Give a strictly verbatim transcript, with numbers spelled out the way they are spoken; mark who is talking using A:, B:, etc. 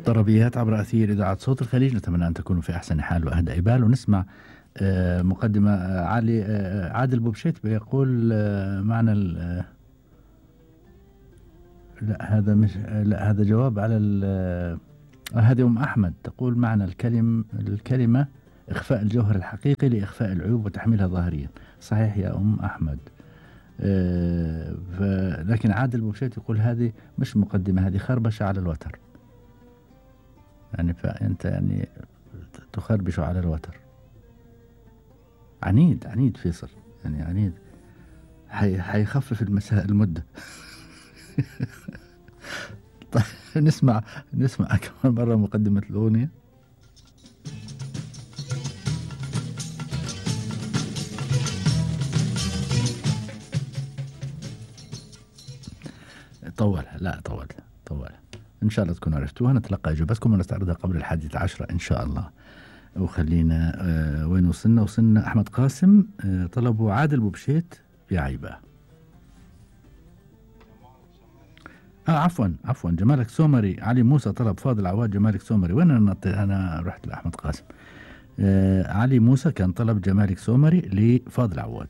A: طربيات عبر أثير إذاعة صوت الخليج، نتمنى أن تكونوا في أحسن حال وأهدى إبال. ونسمع آه مقدمة آه علي آه عادل بوبشيت بيقول آه معنى ال لا هذا مش لا هذا جواب على ال هذه أم أحمد تقول معنى الكلم الكلمة إخفاء الجوهر الحقيقي لإخفاء العيوب وتحميلها ظاهريا. صحيح يا أم أحمد. آه لكن عادل بوبشيت يقول هذه مش مقدمة، هذه خربشة على الوتر. يعني فأنت يعني تخربش على الوتر. عنيد عنيد فيصل، يعني عنيد، حي حيخفف المساء المدة. طيب نسمع نسمع كمان مرة مقدمة الأغنية. طولها لا طولها طولها إن شاء الله تكونوا عرفتوها. نتلقى إجابتكم ونستعرضها قبل الحادية عشرة إن شاء الله. وخلينا آه وين وصلنا؟ وصلنا أحمد قاسم آه طلبوا عادل بوبشيت يا عيبة. آه عفوا عفوا جمالك سومري. علي موسى طلب فاضل عواد جمالك سومري. وين أنا أنا رحت لأحمد قاسم. آه علي موسى كان طلب جمالك سومري لفاضل عواد.